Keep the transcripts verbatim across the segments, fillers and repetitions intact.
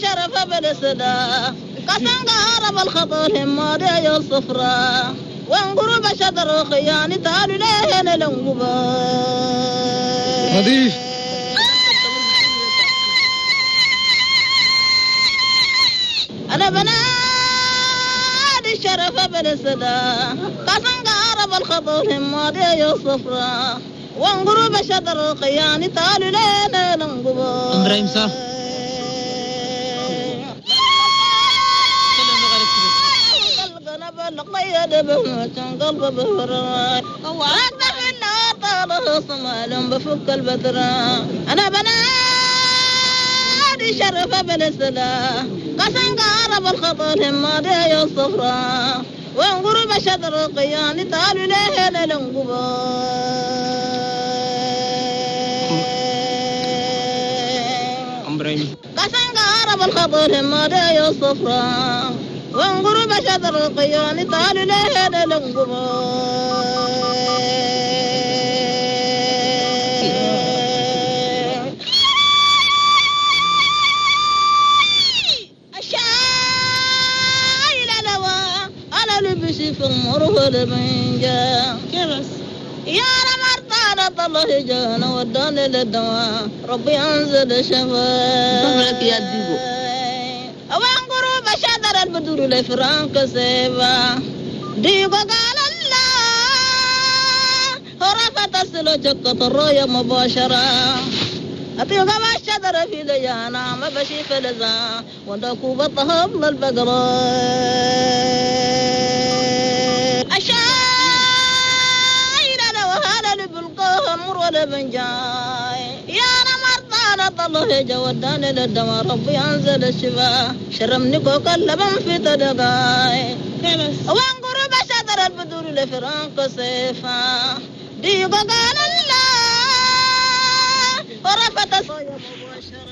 الشرف بالسدا قسم قارب الخطر همادي يا الصفراء وانقرب شدر خياني تعالوا ليه لنقبا نظيف. أنا بنادي الشرف بالسدا قسم قارب الخطر همادي يا الصفراء وانقرب شدر خياني تعالوا ليه لنقبا. إبراهيم صح. بفك البدرة أنا بنادي شرف بالسلا قسم قارب الخطر همادي يا الصفراء وانقرب شدر قياني تعالوا ليه لنقبا. قسم قارب الخطر همادي يا الصفراء وانقرب شدر القياني تعالوا ليه لنقبا. في المرهل من جاء يا رمضان الله جانا وداني للدواء ربي أنزل شفاء يا ديبو. وانقرب شدر البدور لفرانك سيبا ديبو قال الله رفعت السلو جكة الرؤيا مباشرة أتيغا ما شدر في ليانا ما بشي فلزا ودكو بطهب للبقرة أشايل أنا وهذا لبلقاها مر ولا بنجاي يا رمضان الله جوداني للدواء ربي أنزل الشفاء شرمني كوكا اللبن في تدقاي وانقرب شدر البدور لفرانك سيفا ديقو قال الله ورفت مباشرة.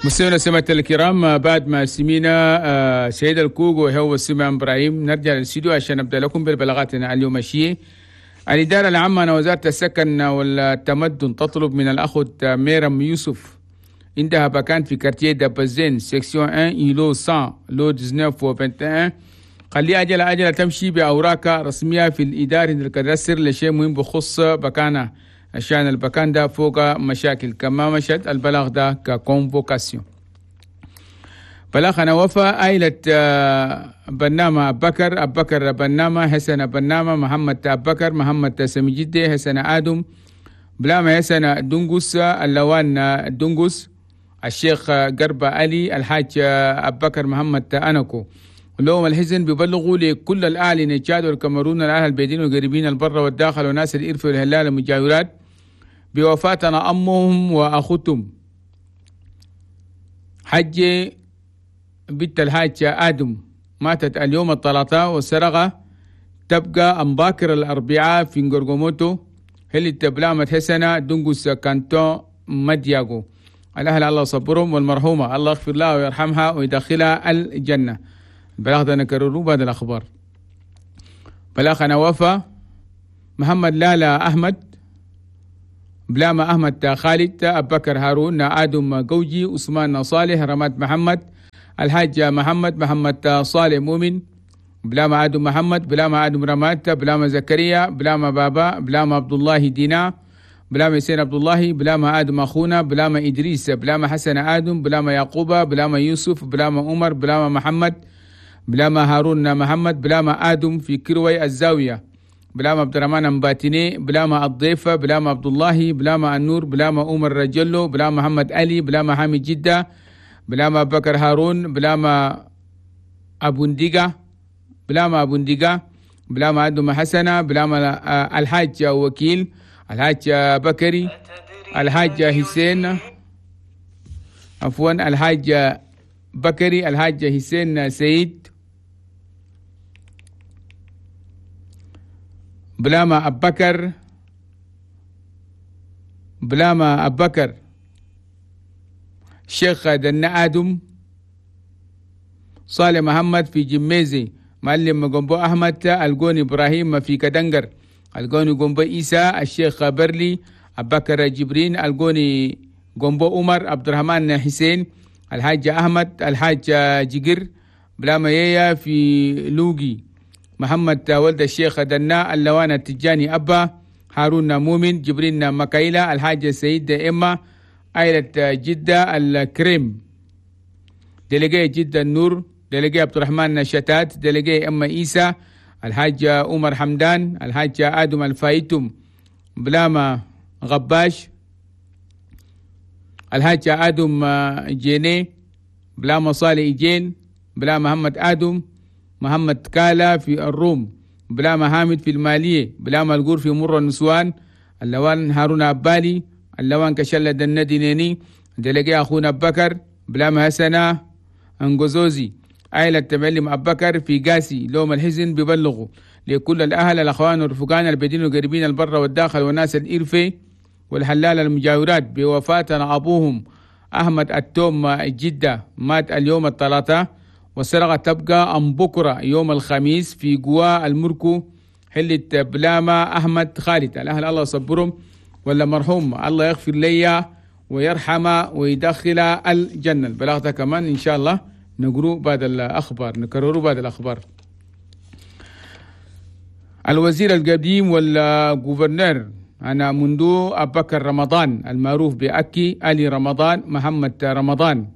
مستمعينا سمعت الكرام، بعد ما سمينا سيد الكوغو هو سمع ابراهيم، نرجع للاستوديو عشان نبدا لكم بالبلاغاتنا اليوم. الشيء الإدارة العامة وزارة السكن والتمدن تطلب من الأخ ميرم يوسف عندها بكان في quartier دابزين section واحد îlot مية lot تسعة عشر و واحد وعشرين، خلي أجل أجل تمشي بأوراق رسمية في الإدارة ال cadastre لشيء مهم بخص بكانة عشان البكان ده فوق مشاكل كما مشت البلاغ ده ك convocation. بلاغنا وفا عائلة بنامة أبكر أبكر بنامة حسن بنامة محمد أبكر محمد سمجدي حسن آدم بلامة حسن دنقس اللوان دنقس الشيخ قربة علي الحاج أبكر محمد أنكو. لهم الحزن بيبلغوا لكل الأهل نتشاد والكاميرون الأهل البيدين والقريبين البر والداخل وناس الإرف والهلال المجاورات بوفاتنا أمهم وأخوتهم حج بنت الحاج آدم ماتت اليوم الثلاثاء والسرقة تبقى أمباكر الأربعاء في نغرغوموتو هل تبلامة حسنة دنقس كانتون مدياغو. الأهل الله صبرهم والمرحومة الله يغفر لها ويرحمها ويدخلها الجنة. بلاغ ده نكرره بعد الأخبار. بلاغنا وفا محمد لالا أحمد بلاما أحمد خالد أبكر هارون آدم جوجي عثمان صالح رماد محمد الحاج محمد محمد صالح مؤمن بلاما آدم محمد بلاما آدم رماد بلاما زكريا بلاما بابا بلاما عبد الله دينا بلاما حسين عبد الله بلاما آدم أخونا بلاما إدريس بلاما حسن آدم بلاما يعقوب بلاما يوسف بلاما عمر بلاما محمد بلاما هارون محمد بلاما آدم في كروي الزاوية بلاما عبد الرحمن مباتيني بلاما الضيفة بلاما عبد الله بلاما النور بلاما عمر رجلو بلاما محمد علي بلاما حامد جدة بلاما بكر هارون بلاما أبو نديقة بلاما أبو نديقة بلاما آدم حسنة بلاما الحاج وكيل الحاج بكري الحاج حسين عفوا الحاج بكري الحاج حسين سيد بلاما أبكر بلاما أبكر شيخ دنا آدم صالح محمد في جميزي معلم جنبو أحمد الجوني إبراهيم في كدنجر الجوني جنبو إيسى الشيخ برلي أبكر جبرين الجوني جنبو عمر عبد الرحمن حسين الحاج أحمد الحاج جقر بلاما ييا في لوجي محمد ولد الشيخ دنا اللوان التجاني أبا هارون مؤمن جبرين مكايلة الحاج سيد إما عائلة جدة الكريم دلقي جدة النور دلقي عبد الرحمن شتات دلقي أما إيسى الحاج عمر حمدان الحاج آدم الفايتم بلاما غباش الحاج آدم جيني بلاما صالح إيجين بلا محمد آدم محمد كالا في الروم بلا محامد في المالية بلا ملقور في مر النسوان اللوان هارون أبالي اللوان كشلة الندينيني دلقي أخونا بكر بلا مهسنة أنجوزوزي عائلة تملم أبكر في قاسي لوم الحزن ببلغوا لكل الأهل الأخوان والرفقان البدين والقريبين البر والداخل والناس الإرفي والحلال المجاورات بوفاة أبوهم أحمد التوم جدة مات اليوم الثلاثاء والسرقة تبقى أم بكرة يوم الخميس في قوا المركو حلة بلاما أحمد خالد. الأهل الله يصبرهم ولا مرحوم الله يغفر لي ويرحمه ويدخل الجنة. البلاغ ده كمان إن شاء الله نقرأ بعد الأخبار نكرره بعد الأخبار. الوزير القديم وال gouverneur أنا منذ أبكر رمضان المعروف بأكي علي رمضان محمد رمضان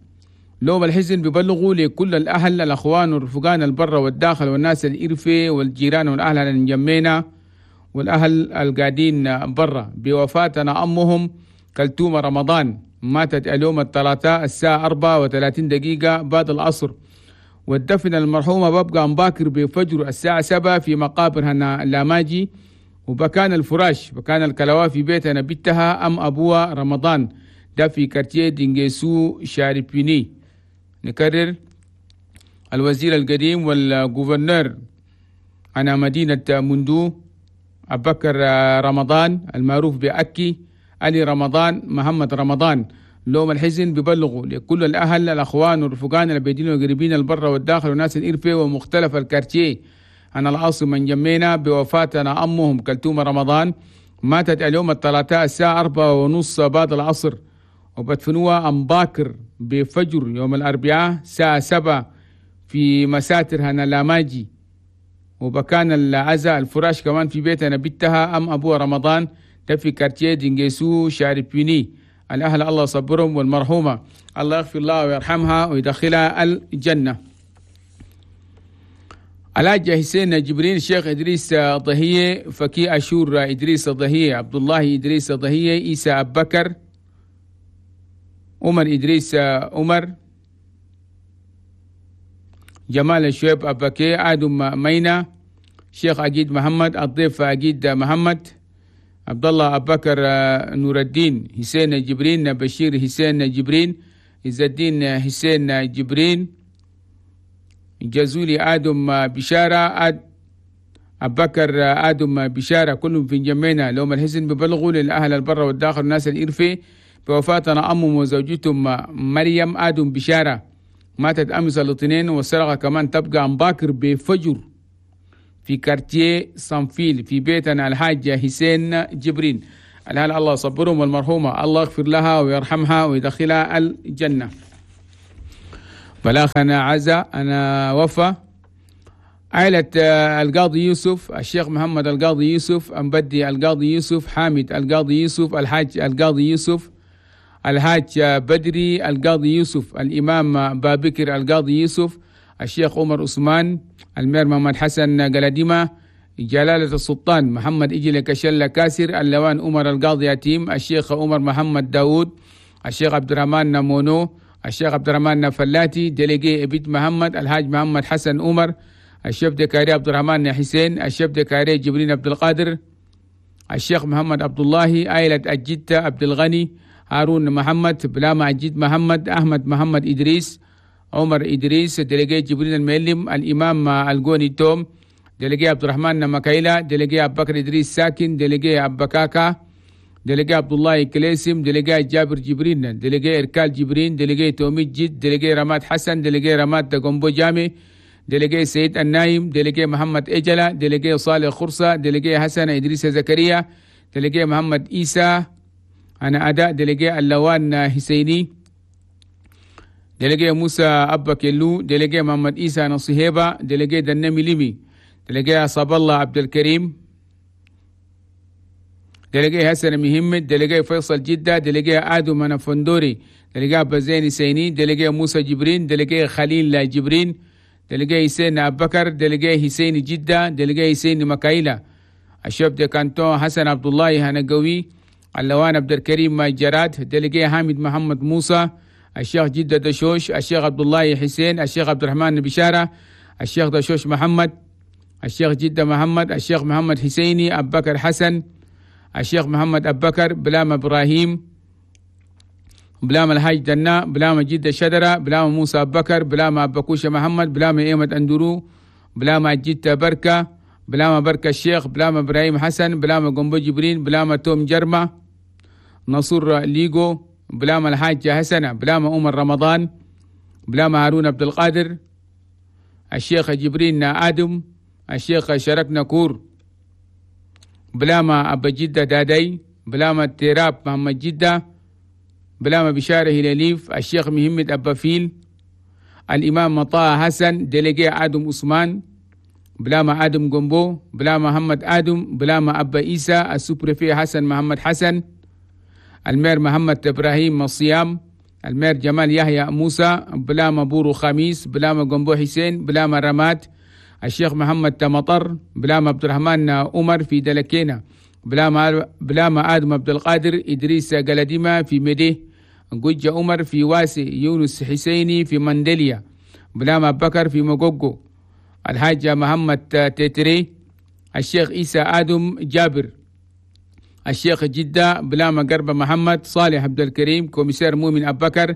لوم الحزن ببلغوا لكل الأهل الأخوان والرفقان البر والداخل والناس الإرفي والجيران والأهل الجمينة والأهل القاعدين برا بوفاتنا أمهم كلتوم رمضان ماتت اليوم الثلاثاء الساعة أربعة وثلاثين دقيقة بعد العصر والدفن المرحومة ببقى مباكر بفجر الساعة سبعة في مقابر هنا لاماجي وبكان الفراش بكان الكلوا في بيتنا بيتها أم أبوها رمضان ده في quartier دينجيسو شاربيني. نكرر الوزير القديم وال gouverneur أنا مدينة مندو أبكر رمضان المعروف بأكي علي رمضان محمد رمضان لوم الحزن ببلغوا لكل الأهل الأخوان والرفقان البيدين والقريبين البر والداخل والناس الإرفي ومختلف ال quartiers أنا العاصمة جمينا بوفاتنا أمهم كلتوم رمضان ماتت اليوم الثلاثاء الساعة أربعة ونص بعد العصر وبدفنوها أم باكر بفجر يوم الأربعاء الساعة سبعة في مساتر هنا لاماجي وبكان العزاء الفراش كمان في بيتنا بيتها أم أبوها رمضان ده في quartier دينجيسو شاربيني. الأهل الله صبرهم والمرحومة الله يغفر الله ويرحمها ويدخلها الجنة. الحاج حسين جبرين الشيخ إدريس ضهية فكي أشور إدريس ضهية عبد الله إدريس ضهية إيسى أبكر عمر إدريس عمر جمال الشويب أبكي آدم مينا شيخ أجيد محمد الضيف أجيد محمد عبد الله أبكر نور الدين حسين جبرين بشير حسين جبرين عز الدين حسين جبرين جزولي آدم بشارة أد أبكر آدم بشارة كلهم في جمينا لهم الحزن ببلغوا للأهل البر والداخل والناس الإرفي بوفاتنا أمهم وزوجتهم مريم آدم بشارة ماتت أمس الاثنين والسرقة كمان تبقى أم باكر بفجر في quartier صنفيل في بيتنا الحاج حسين جبرين. الهل الله صبرهم والمرحومة الله يغفر لها ويرحمها ويدخلها الجنة. بلاغنا عزا أنا وفا عائلة القاضي يوسف الشيخ محمد القاضي يوسف أمبدي القاضي يوسف حامد القاضي يوسف الحاج القاضي يوسف الحاج بدري القاضي يوسف الإمام بابكر القاضي يوسف الشيخ عمر عثمان المير محمد حسن قلديمة جلالة السلطان محمد إجل كشلة كاسر اللوان عمر القاضي يتيم الشيخ عمر محمد داود الشيخ عبد الرحمن نمونو الشيخ عبد الرحمن فلاتي délégué ابيت محمد الحاج محمد حسن عمر ال chef de carré عبد الرحمن حسين ال chef de carré جبرين عبد القادر الشيخ محمد عبد الله عائلة الجدة عبد الغني هارون محمد بلاما عجيد محمد أحمد محمد إدريس عمر إدريس délégué جبرين المعلم الإمام الجوني توم délégué عبد الرحمن مكايلة délégué أبو بكر إدريس ساكن délégué أبو كاكا délégué عبد الله كليسم délégué جابر جبرين délégué إركال جبرين délégué تومي جد délégué رماد حسن délégué رماد جومبو جامي délégué سيد النايم délégué محمد إجلة délégué صالح خرصة délégué حسن إدريس زكريا délégué محمد إيسى أنا أداء délégué اللوان حسيني délégué موسى أبا كيلو، délégué محمد إيسى نصيهيبة، délégué دنمي ليمي، délégué عصاب الله عبد الكريم، délégué حسن مهمد، délégué فيصل جدة، délégué آدم نفندوري، délégué أبا زين سيني، délégué موسى جبرين، délégué خليل جبرين، délégué حسين أبو بكر، délégué حسين جدة، délégué حسين مكايلة، ال chef de canton حسن عبد الله هنقوي، اللوان عبد الكريم جراد، délégué حامد محمد موسى، الشيخ جدة دشوش، الشيخ عبد الله حسين، الشيخ عبد الرحمن بشارة، الشيخ دشوش محمد، الشيخ جدة محمد، الشيخ محمد حسيني أبو بكر حسن، الشيخ محمد أبو بكر، بلام إبراهيم، بلام الحاج دنا، بلام جدة شدرة، بلام موسى أبو بكر، بلام أبكوشة محمد، بلام إيمة أندرو، بلام جدة بركة، بلام بركة الشيخ، بلام إبراهيم حسن، بلام قنبو جبرين، بلام توم جرمة، نصر ليغو، بلام الحاج حسنة، بلام عمر رمضان، بلام هارون عبد القادر، الشيخ جبرين آدم، الشيخ شركنا كور، بلام أبا جدة دادي، بلام التراب محمد جدة، بلام بشارة هلاليف، الشيخ مهمد أبا فيل، الإمام مطاع حسن، délégué آدم عثمان، بلام آدم جنبو، بلام محمد آدم، بلام أبا إيسى، ال sous-préfet حسن محمد حسن، ال maire محمد إبراهيم مصيام، ال maire جمال يحيى موسى، بلام بورو خميس، بلام جنبو حسين، بلام رماد، الشيخ محمد تمطر، بلام عبد الرحمن عمر في دلكينا، بلام بلام آدم عبد القادر، إدريس قلديمة في مديه، جوجة عمر في واسي، يونس حسيني في مندليا، بلام أبو بكر في مقوقو، الحاج محمد تيتري، الشيخ عيسى آدم جابر، الشيخ جدة، بلام قربة محمد صالح عبد الكريم، commissaire مؤمن أبو بكر،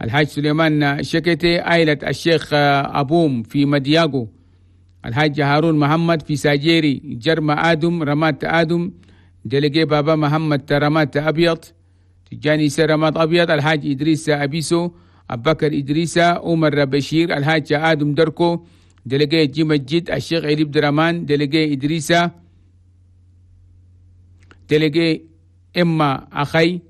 الحاج سليمان شكتي، عائلة الشيخ أبوم في مدياغو، الحاج هارون محمد في ساجيري، جرم آدم، رمات آدم، délégué بابا محمد رمات أبيض، تجاني رمات أبيض، الحاج إدريس أبيسو، أبو بكر إدريس، عمر بشير، الحاج آدم دركو، délégué جيم الجد، الشيخ علي عبد الرحمن، délégué إدريس، délégué إما أخي،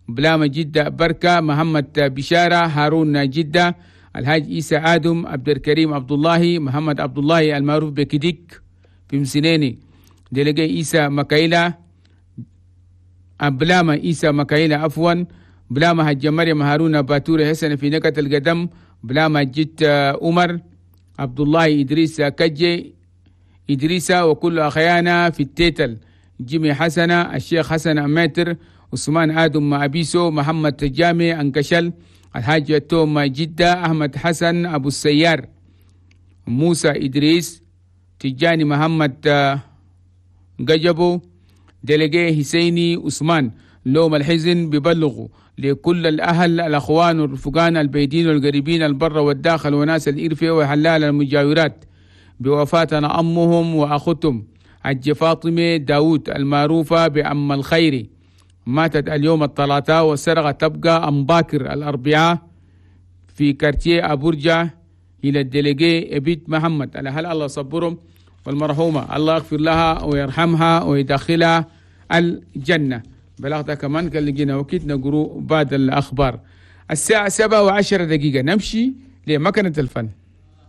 بلام جدة بركة، محمد بشارة، هارون جدة، الحاج عيسى آدم، عبد الكريم عبد الله، محمد عبد الله المعروف بكديك في مسنيني، délégué عيسى مكايلة، بلامة عيسى مكايلة عفوا، بلامة حج مريم هارون باتوري حسن في نكت القدم، بلامة جد عمر عبد الله إدريس كجي إدريس، وكل أخيانا في التيتل، جيمي حسنة، الشيخ حسن أماتر، عثمان آدم أبيسو، محمد جامي أنكشل، الحاج توم جدة، أحمد حسن أبو السيار، موسى إدريس، تجاني محمد قجبو، délégué حسيني عثمان. لوم الحزن ببلغوا لكل الأهل الأخوان والرفقان البيدين والقريبين البر والداخل وناس الإرفة وحلال المجاورات بوفاتنا أمهم وأختهم حج فاطمة داود المعروفة بأم الخير، ماتت اليوم الثلاثاء والسرقة تبقى أم باكر الأربعاء في quartier أبورجا إلى ال délégué أبيت محمد. الأهل الله صبرهم، والمرحومة الله يغفر لها ويرحمها ويدخلها الجنة. بلغتها كمان كان لقينا وقت نقرو بعد الأخبار. الساعة سبعة وعشرة دقيقة نمشي لمكنة الفن.